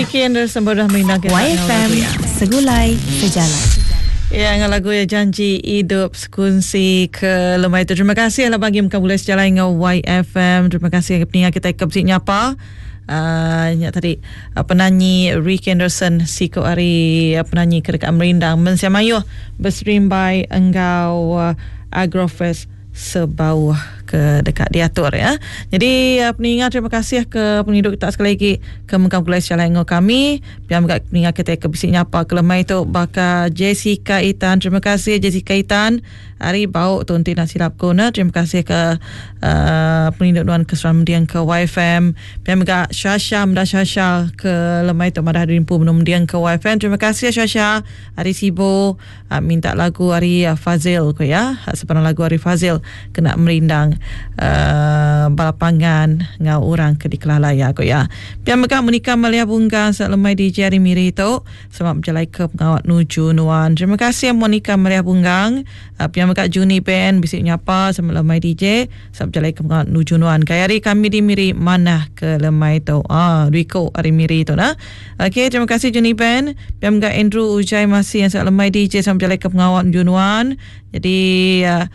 Ricky Anderson baru dah merindang kita enggau YFM lagu iya. Segulai Sejalai. Ya enggau lagu iya Janji Idup Sekunsi ke lemai tu. Terima kasih lah bagi meka bulai sejalai enggau YFM. Terima kasih ngagai peninga kita ke bisi nyapa. Uh, nya tadi uh, penanyi Ricky Anderson siku ari uh, penanyi ke deka merindang mensia mayuh beserimbai enggau uh, Agrofest Sebauh ke deka diatur ya. Jadi peninga terima kasih ke pengidup kita sekali lagi ke mengkang pulai sejalai enggau kami. Pia mega peninga kita ke bisi nyapa ke lemai tu baka Jessica Itan. Terima kasih Jessica Itan. Ari bau tu enti nak silap ku ne. Terima kasih ke uh, pengindu nuan ke seram mending ke YFM. Pia mega Shasha meda Shasha ke lemai tu madah diri empu benung mending ke YFM. Terima kasih Shasha ari Sibu. Minta lagu ari Fazil ku iya. Sebarang lagu ari Fazil kena merindang bala pangan enggau orang ke dikelala iya ku iya. Pia mega Monica Malia Bunggang selamat lemai DJ ari Miri tu. Selamat bejalai ke pengawa nuju nuan. Terima kasih Monica Malia Bunggang. Pia mega Juni Ben bisi nyapa selamat lemai DJ. Selamat bejalai ke pengawa nuju nuan. Gaya hari kami di Miri manah ke lemai tu. Ah, dua iku ari Miri tu nah. Okey, terima kasih Juni Ben. Pia mega Andrew Ujai Masih yang sangat lemai DJ sama berjalai ke pengawal nuju nuan. Jadi uh,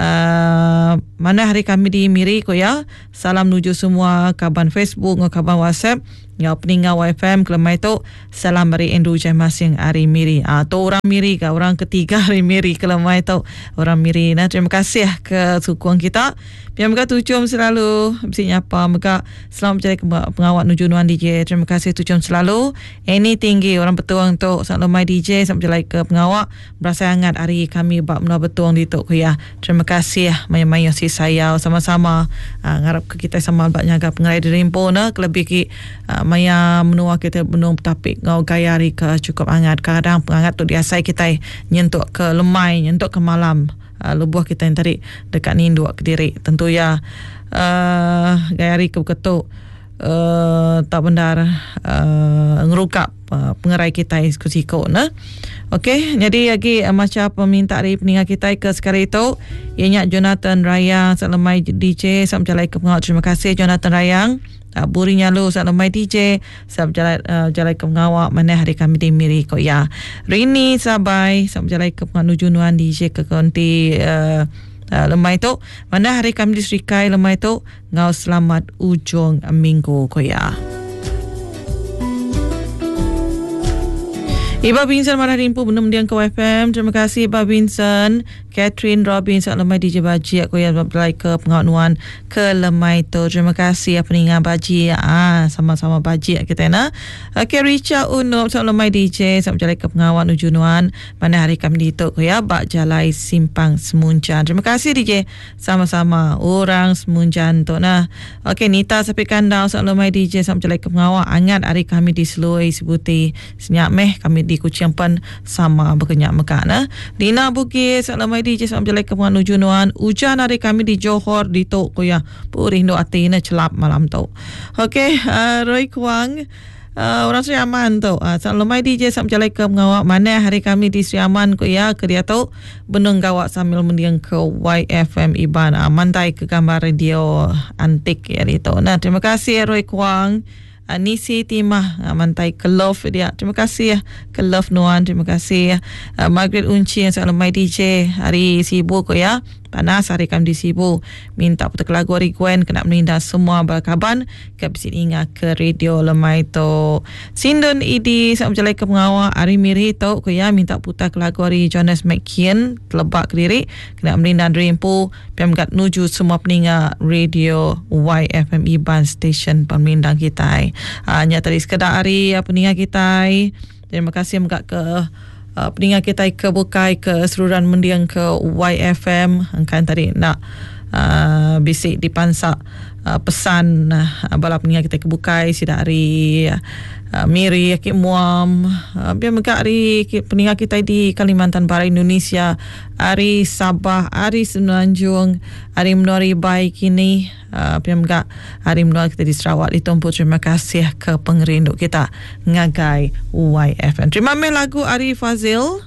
uh, mana hari kami di Miri ko ya. Salam nuju semua kaban Facebook ngau kaban WhatsApp ngau peninga YFM kelemai tu. Salam dari Andrew Ujai Masing ari Miri. Ah tu orang Miri ka orang ketiga ari Miri kelemai tu. Orang Miri nah terima kasih ke sukung kita. Pia mega tuchum selalu bisi nyapa mega Selamat bejalai ke pengawa nuju nuan DJ. Terima kasih tuchum selalu. Annie tinggi orang Betong tu. Selamat lemai DJ. Selamat bejalai ke pengawa. Berasai angat hari kami ba menua Betong ditu ku iya. Terima kasih mayuh-mayuh si sayau sama-sama ngarap ke kitai sama ba nyaga pengerai diri empu ne kelebih agi maya menua kitai benung betapi enggau gaya hari ke chukup angat. Kadang pengangat tu diasai kitai nyentuk ke lemai nyentuk ke malam. Lebuh kitai enti deka ninduk kediri tentu iya gaya hari ke beketu tau bendar ngeruga pengerai kitai siku siku ne. Okey nyadi agi macha peminta ari peninga kitai ke sekali tu iya nya Jonathan Rayang selemai DJ sama bejalai ke pengawa terima kasih Jonathan Rayang. Buri nyalu sa lemai DJ sa bejalai bejalai ke pengawa manah hari kami di Miri ko iya. Rini Sabai sa bejalai ke pengawa nuju nuan DJ ke konti uh, lemai tu manah hari kami di Serikai lemai tu ngau selamat ujung minggu ko iya. Iba Vincent marah rimpu benung mendiang ke YFM. Terima kasih Iba Vincent. Catherine Robin selamat lemai DJ Baji aku yang belai ke pengawa nuan ke lemai tu. Terima kasih apa ninga Baji. Ah sama-sama Baji kita na. Okey Richa Unup selamat lemai DJ selamat berjalai ke pengawa nuju nuan. Mana hari kami ditu ku ya ba jalai Simpang Semunjan. Terima kasih DJ. Sama-sama orang Semunjan tu nah. Okey Nita Sapi Kandau selamat lemai DJ selamat berjalai ke pengawa angat hari kami di Selui Sibuti. Senya meh kami di Kuching pen sama baka nya mega ne. Dina Bugis lemai DJ sama bejalai ke pengawa nuju nuan. Ujan hari kami di Johor ditu ku iya. Purih endu ati ne chelap malam tu. Okey uh, Roy Kuang uh, orang Sri Aman tu. Uh, lemai DJ sama bejalai ke pengawa manah hari kami di Sri Aman ku iya ke diatu benung gawa sambil mending ke YFM Iban. Uh, mantai ke gambar radio antik ya ditu. Nah, terima kasih Roy Kuang. Nisi Timah mantai ke love dia. Terima kasih ke love nuan. Terima kasih Margaret Unci yang selalu mai DJ hari Sibu ko ya. Panas hari kami di Sibu. Minta putar lagu hari Gwen kena meninda semua bala kaban ke bisi ninga ke radio lemai tu. Sindun Idi selalu berjalai ke pengawa hari Miri tu ko ya minta putar ke lagu hari Jonas McKeon telebak kediri kena meninda diri empu. Pia mega nuju semua peninga radio YFM Iban Station Pemerindang kitai. Uh, nya tadi sekeda ari uh, peninga kitai. Terima kasih mega ke uh, peninga kitai ke bukai ke seruran mending ke YFM engkan tadi nak uh, bisi dipansa uh, pesan uh, bala peninga kitai ke bukai sida ari uh, Miri aki Muam uh, pia mega ari peninga kitai di Kalimantan Barat Indonesia Ari Sabah, ari Semenanjung, ari menua Ribai kini, pia mega ari menua kita di Sarawak ditumpu terima kasih ke pengerindu kita ngagai YFM. Terima meh lagu ari Fazil.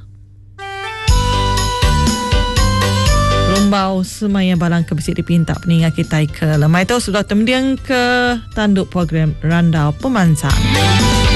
Rumbau semaya balang ke bisi dipinta peninga kitai ke lemai tu sudah temending ke tandu program Randau Pemansang.